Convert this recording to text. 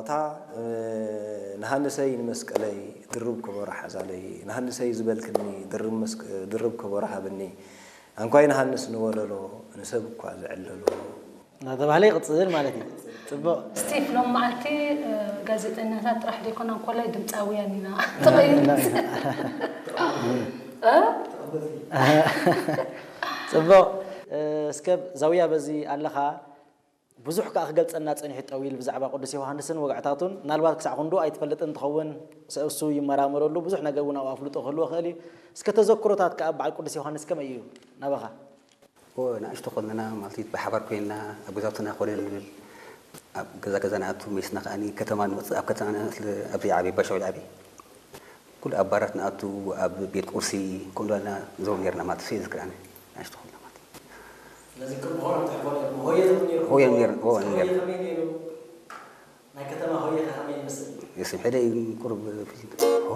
እታ ንሃንሰይ ንመስቀለይ ድርብ ከበሮ ሓዛለይ፣ ንሃንሰይ ዝበልክኒ ድርብ ከበሮ ሃብኒ፣ ኣንኳይ ንሃንስ ንወለሎ ንሰብ እኳ ዘዕለሎ። እናተባህለ ይቕፅል ማለት እዩ። ፅቡቕ። ስቲፍ ሎም መዓልቲ ጋዜጠኛታት ጥራሕ ዘይኮና እንኮላይ ድምፃውያን ኢና ተቐይሩ። ፅቡቕ። እስከ ዛውያ በዚ ኣለኻ ብዙሕ ከዓ ክገልፀና ፀኒሑ ጠዊል ብዛዕባ ቅዱስ ዮሃንስን ወግዕታቱን ምናልባት ክሳዕ ክንዱ ኣይትፈልጥን እንትኸውን ሰእሱ ይመራመረሉ ብዙሕ ነገር እውን ኣብ ኣፍልጦ ክህልዎ ክእል እዩ። እስከ ተዘክሮታት ከዓ በዓል ቅዱስ ዮሃንስ ከመይ እዩ ናባኻ? ንእሽቶ ከለና ማለት እዩ ብሓባር ኮይንና ኣብ ገዛውትና ኮነ ንብል ኣብ ገዛ ገዛ ንኣቱ መሊስና ከዓ ከተማ ንወፅእ ኣብ ከተማ ኣብዚ ዓበይ ባሻዊ ዓበይ ኩሉ ኣብ ባራት ንኣቱ ኣብ ቤት ቁርሲ ከምኡ ዳልና ንዘውር ነርና ማለት እዩ ዝክርኣኒ ንእሽቶ ከለና ማለት እዩ ስለዚ ቅድሚ ሆሮ ትሕቦ ነርኩም ሆየ ትብሉ ነርኩም ሆየ ነር ሆ ነር ከመይ ነይሩ ናይ ከተማ ሆየ ከመይ ይመስል የስም ሕደ ቁሩብ ፊልም